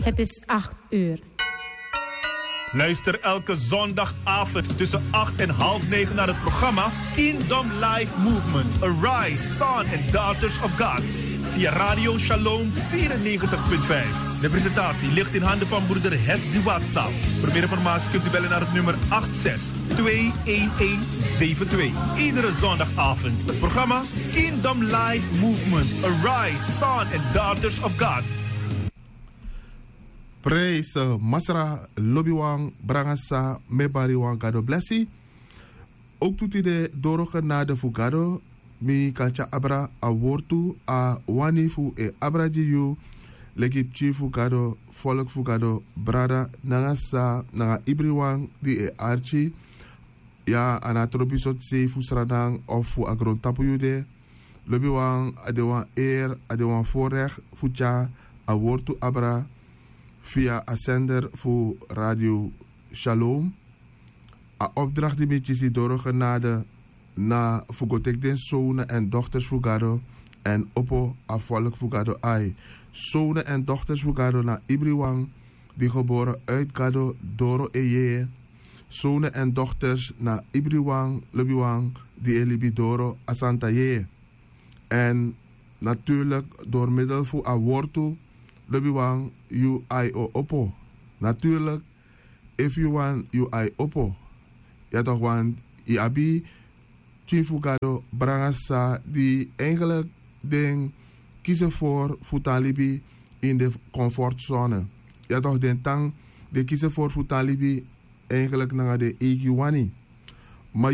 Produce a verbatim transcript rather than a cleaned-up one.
Het is acht uur. Luister elke zondagavond tussen acht en half negen naar het programma Kingdom Life Movement: Arise, Son and Daughters of God via Radio Shalom vierennegentig punt vijf. De presentatie ligt in handen van broeder Hesdy Watsap. Voor meer informatie kunt u bellen naar het nummer acht zes twee een een zeven twee. Iedere zondagavond het programma Kingdom Life Movement: Arise, Son and Daughters of God. Prijs, eh, Masra, lobiwan, brangasa, mebariwan, Gado blessi. Ook tu tide doro genade fu Gado, mi kan tyari abra a wortu, a wani fu e abra gi yu, leki pikin fu Gado, volk fu Gado, brada, nanga sa, nanga ibriwan di e arki, ya, a no tropi sortu sei fu Sranan of fu a grontapu yu de, lobiwan, a de wan eer, a de wan voorrecht fu tyari a wortu abra via a zender fu Radio Shalom. A opdracht di mi kisi doro genade na fu go teki den zonen en dochters fu Gado en opo a volk fu Gado ai. Zonen en dochters fu Gado na ibriwan di geboren uit Gado doro e yeye. Zonen en dochters na ibriwan lobiwan di e libi doro a santa yeye. En natuurlijk door middel fu a wortu, lobiwan, yu ai o opo. Natuurlijk, efu yu wani yu ai opo, ya toch, want yu abi pikin fu Gado, brangasa, di eigenlijk den kisi voor fu tan libi in de comfortzone. Ya toch, den tan, den kisi voor fu tan libi eigenlijk nanga den eigi wani.